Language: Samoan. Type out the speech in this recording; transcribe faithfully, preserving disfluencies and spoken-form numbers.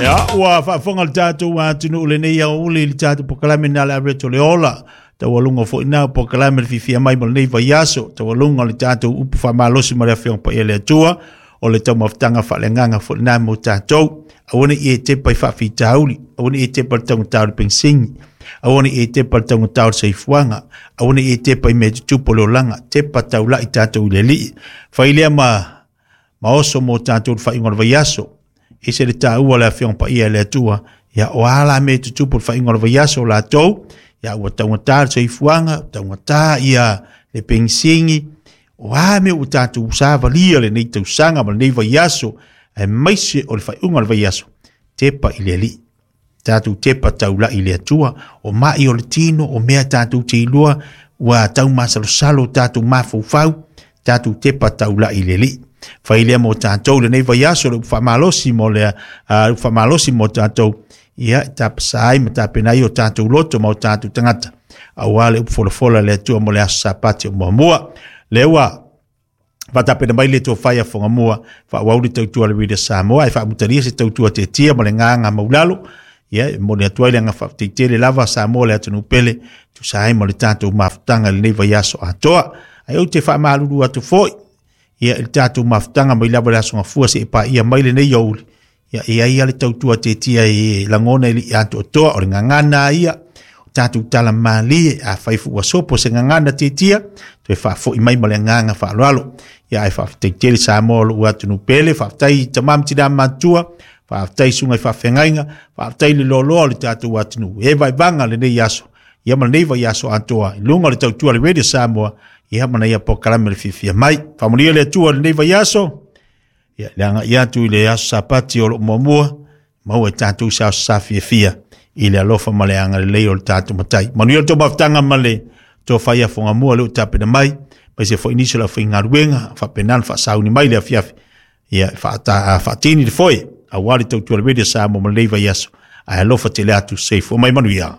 Ia, ua faafofoga le tatou atunuu lenei aoauli i le tatou polokalame na le Aveto le Ola. Taualuga foi na polokalame le fiafia mai mo lenei vaiaso. Taualuga o le tatou upu faamalosi ma le Afioga Paia le Atua. O le taumafataga faaleagaga foi na mo tatou. Aua ne i e tepa i faafitauli. Aua ne i e tepa i le taugata o le penisini. Aua ne i e tepa i le taugata o le soifuaga. Aua ne i e tepa i mea tutupu o le olaga. Tepa taulai tatou i le Alii. Fai lea ma, ma oso mo tatou le faaiuga o le vaiaso. Ese le taua le Afioga Paia le Atua. Ia o ala mea tutupu o le faaiuga o le vaiaso o latou. Ia ua taugata le soifuaga, taugata ia le penisini. O a mea ua tatou savalia lenei tausaga ma lenei vaiaso, aemaise o le faaiuga o le vaiaso, tepa i le Alii. Tatou tepa taulai i le Atua. O mai o le tino, o mea tatou te iloa, ua taumasalosalo tatou mafaufau, tatou tepa taulai i le Alii. Fai lea mo tatou lenei vaiaso, le upu faamalosi mo le uh, upu faamalosi mo tatou, ia tapasa ai ma tapena ai o tatou loto ma o tatou tagata. Aua le upu folafola le Atua mo le aso Sapati o muamua. Le ua faatapena mai le tofai a Fogamua, faaauau le tautua le Radio Samoa, e faamutalia se tautua tetia ma le gaga maulalo. Ia, e momoli atu ai le agaga faafetai tele lava Samoa le atunuu pele, tusa ai ma le tatou mafutaga i lenei vaiaso atoa. Ae ou te faamalulu atu foi, ia, i le tatou mafutaga mai lava le aso Gafua seia paia mai lenei aoauli. Ia, e ai lava le tautua tetia e lagona i le atoatoa o le gagana ia, tatou tala malie, a fai fu ua sopo se gagana tetia, toe faafoi mai ma le agaga faaaloalo. Ia, ae faafetai tele Samoa o lou atunuu pele, faafetai tama ma tina matua, faafetai susuga i faafeagaiga, faafetai le loaloa o le tatou atunuu. E vaivaga lenei aso, ia ma lenei vaiaso atoa, i luga o le tautua le Radio Samoa, ia ma naia polokalame le fiafia mai. Faamanuia le Atua lenei vaiaso, ia le agai atu i le aso Sapati o loo muamua, maua e tatou se aso sa fiafia i le alofa ma le agalelei o le tatou Matai. Manuia le tou mafutaga ma le tofai a Fogamua le o tapena mai, mai se foi nisi o le aufaigaluega, faapena ona faasauni mai le afiafi, ia faata, faatini le foe, aua le tautua le Radio Samoa ma lenei vaiaso. Ae alofa tele atu, soifua mai manuia.